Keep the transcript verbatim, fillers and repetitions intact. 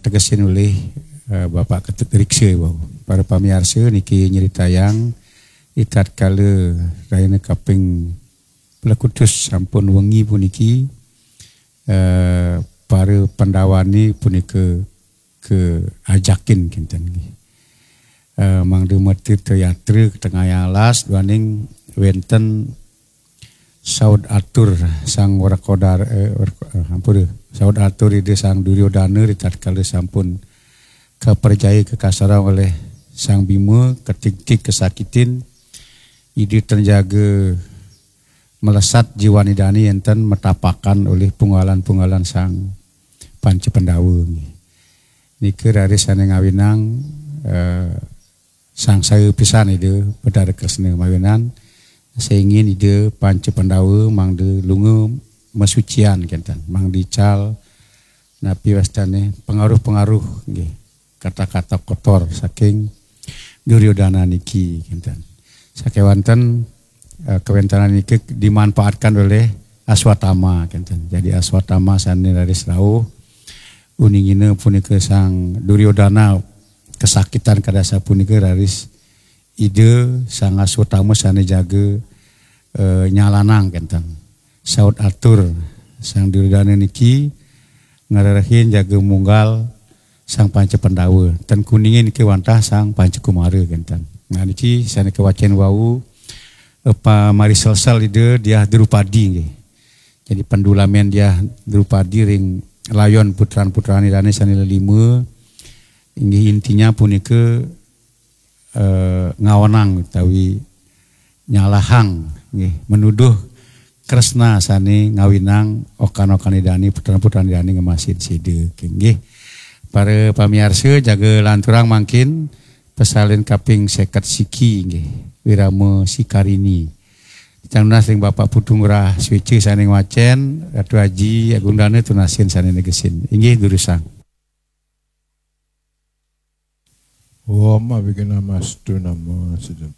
tegesin olih eh, Bapak Ketut Riksa bau. Para pamiarsa niki nyeritayang di tatkala rahina kaping pelekutus sampun wengi puniki eh, para Pandawane punika ke ajakin kinten nggih. Eh, mangda mati teatra ke tengah alas duaning wenten saud atur sang Wrekodara eh, Wreko- eh, ampura, saud atur Ida Sang Duryodana di tatkala sampun kaperjaya kekasaran oleh Sang Bima, ketigtig kesakitin, Ida ten jaga melesat jiwan Idane enten metapakan olih punggalan-punggalan Sang Panca Pandawa nggih. Nika raris sane ngawinang eh, sangsaya pisan Ida Betara Kresna mawinan sengin Ida Panca Pandawa mangda lunga masucian kenten, mangda ical napi wastane pengaruh-pengaruh nggih, kata-kata kotor saking Duryodana niki kenten. Sakewanten eh, kewentanan niki dimanfaatkan oleh Aswatama kenten. Jadi Aswatama sane raris rauh uningina punika Sang Duryodana kesakitan kadasa punika raris Ida Sang Aswatama sane jaga eh, nyalanang kenten. Saud atur Sang Duryodana niki ngrerehin jaga munggal Sang Panca Pandawa. Ten kuningin niki wantah Sang Panca Kumara kenten. Nah niki sane kewacen wau eh, pamari selsel Ida Diah Drupadi nggih. Jadi pendulamen Diah Drupadi ring layon putran-putran Idane sane lelima inggih intinya punika eh, ngaonang utawi nyalahang nggih, menuduh Kresna sane ngawinang okan-okan Idane, putran-putran Idane ngemasin sida nggih. Para pamiarsa jaga lanturang mangkin pesalin kaping seket siki nggih, Wirama Sikarini. Titiang nunas ring Bapak Putu Ngurah Sweca sane ngwacen, Ratu Aji Agung Dana tunasin sane negesin. Inggih durusang. Om Awighnamastu Namo Siddham.